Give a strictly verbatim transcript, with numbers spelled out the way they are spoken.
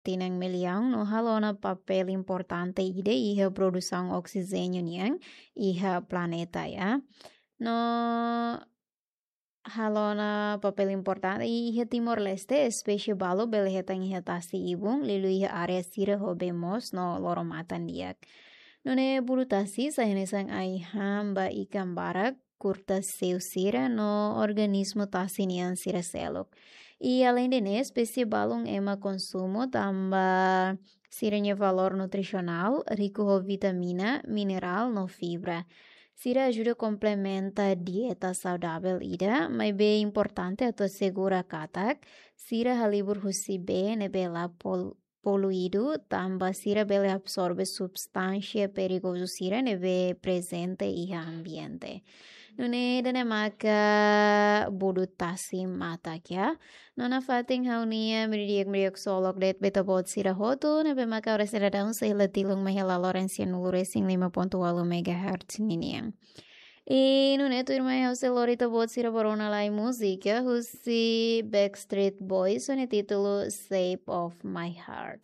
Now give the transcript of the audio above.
tinan millaun no halo ona papél importante ida iha produsaun oksijéniu nian iha planeta, ya. No halo ona papél importante iha Timor-Leste, espésie balu bele hetan iha tasi ibun, liuliu iha área sira ho bee moos no loro-matan di'ak. Nune'e budu-tasi sai hanesan ai-han ba ikan barak, kurta-seu sira no organismu tasi nian sira seluk. I aleinde ne'e, espésie balun ema konsumu tanba sira-nia valór nutrisionál riku ho vitamina, minerál no fibra. Sira ajuda komplementa dieta saudavel ida, maibé importante atu asegura katak sira halibur husi bee ne'ebé la pol-, poluídu, tanba sira bele absorve substánsia perigozu sira ne'ebé prezente iha ambiente. Nune'e ida-ne'e maka budu-tasi matak, ya. No nafatin ha'u-nia miri di'ak, miri di'ak ksolok de'it ba ita-boot sira hotu, ne'ebé maka oras sira daudaun sei la tilun mai iha laloran sianulu resin lima pontu ualu megahertz ninian. I nune'e tuirmai ha'u sei lori ita-boot sira ba rona lai múzika husi Backstreet Boys ho nia títulu Shape of My Heart.